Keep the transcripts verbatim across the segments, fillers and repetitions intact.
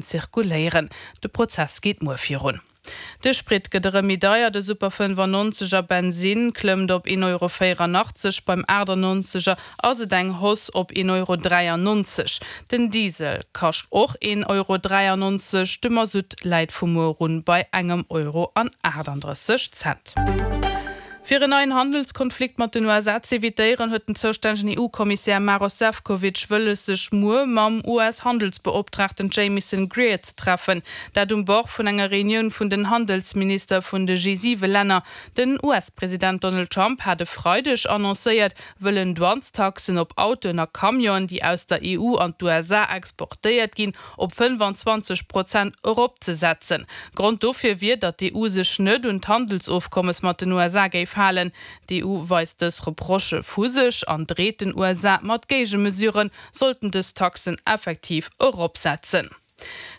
Zirkuléieren. De Prozess geet muer virun. De Sprit gëtt erëm méi deier, de Super fënnefannonzeg a Bensinn klëmmt op een Euro véierannachtzeg, beim aachtannonzeger ass et eng Hausse op een Euro dräiannonzeg. Den Diesel kascht och een Euro dräiannonzeg, de Masutt läit vu muer un bei engem Euro an aachtandrësseg Cent. Fir en neien Handelskonflikt mat den U S A z'evitéieren, huet den zoustännegen E U-Kommissär Maros Sefcovic wëlles, sech muer mam U S-Handelsbeoptraagten Jamieson Greer ze treffen. Dat um Bord vun enger Reunioun vun den Handelsminister vun de G siwe Länner. Den U S-President Donald Trump hat e Freideg annoncéiert, wëllen Douanestaxen op Autoen a Camionen, déi aus der E U an d'U S A exportéiert ginn, op fënnefanzwanzeg Prozent eropzesetzen. Grond dofir wier, datt d'E U sech net un d'Handelsofkommes mat den U S A géif halen. D'E U weist dës Reprochë vu sech an dreet den U S A mat Géigemesuren, sollten dës Taxen effektiv eropsetzen.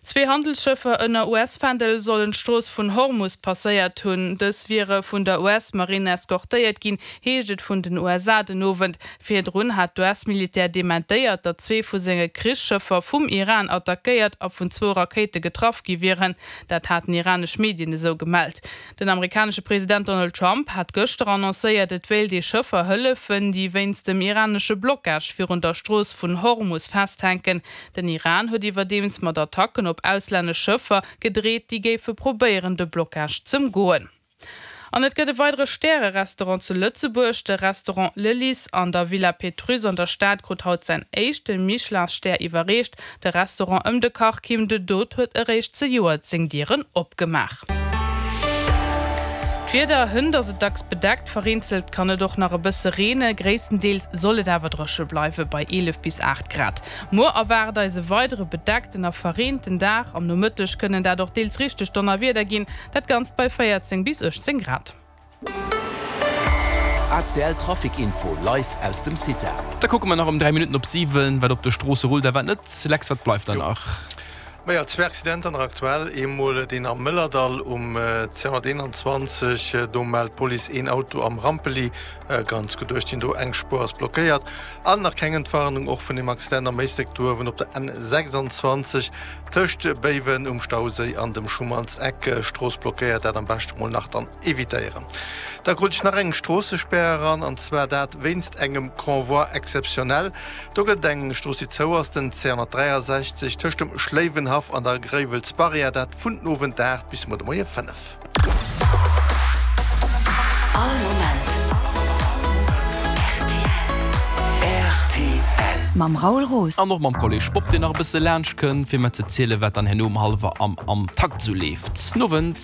Zwee Handelsschëffer ënner U S-Fändel sollen d'Strooss vun Hormus passéiert hunn. Dës wiere vun der U S-Marine eskortéiert ginn, heescht et vun den U S A den Owend. Virdrun hat d'U S-Militär dementéiert, datt zwee vu senge Krichsschëffer vum Iran attackéiert a vun zwou Rakéite getraff gi wieren. Dat haten iranesch Medien esou gemellt. Den amerikanesche President Donald Trump hat gëschter annoncéiert, et wéilt ee Schëffer hëllefen, déi wéinst dem iranesche Blockage virun der Strooss vun Hormus festhänken. Den Iran huet iwwerdeems mat Attacken op auslännesch Schëffer gedreet, déi géife probéieren, de Blockage z'ëmgoen. An et gëtt e weidere Stäre-Restaurant zu Lëtzebuerg. De Restaurant Le Lys an der Villa Pétrusse an der Stad krut haut säin éischte Michelin-Stär iwwerreecht. De Restaurant ëm de Kach Kim de Dot huet eréischt zejoert seng Dieren opgemaach. D'Wieder hënt ass et dacks bedeckt, vereenzelt kann et och nach e bësse reene, gréisstendeels soll et awer dréche bleiwe bei eelef bis aacht Grad. Muer erwaart eis e weidere bedeckten a verreenten Dag. Am Nomëtteg kënnen dat och deels richteg Donnerwieder ginn, dat Ganzt bei véierzéng bis uechtzéng Grad. A C L Trafic Info live aus dem Cita. Da kucke mer nach um dräi Minutten op siwen, wat op de Stroosse rullt a wat net. Lex, wat bleift da Jo. nach? Maja, zwee Accidenter nach aktuell. Eemol deen am Mëllerdall um zweehonnerteenanzwanzeg. Do mellt d'Police een Auto am Rampeli. Ganz gutt duerch den do eng Spuer ass blockéiert. An nach keng Entwarnung och vun dem Accident am Éislek do uewen op der N sechsundzwanzeg tëscht Béiwen um Stauséi an dem Schumannseck. Strooss blockéiert, dat am beschten mol nach dann evitéieren. Da krut ech nach eng Stroossespär eran, an zwar dat wéinst engem Convoi exceptionnel. Do gëtt eng Strooss, déi zou ass, den C honnertdräiasechzeg tëscht dem Schléiwenhaff an der Gréiwelsbarrière, dat vun den Owend aacht bis muer de Moie fënnef. All Moment. R T L. Mam Raoul Roos. An och mam Kolleg Bob, deen nach e bësse laanscht kënnt, fir mer ze zielen, wat dann herno um hallwer am, am Takt sou leeft. Nowend.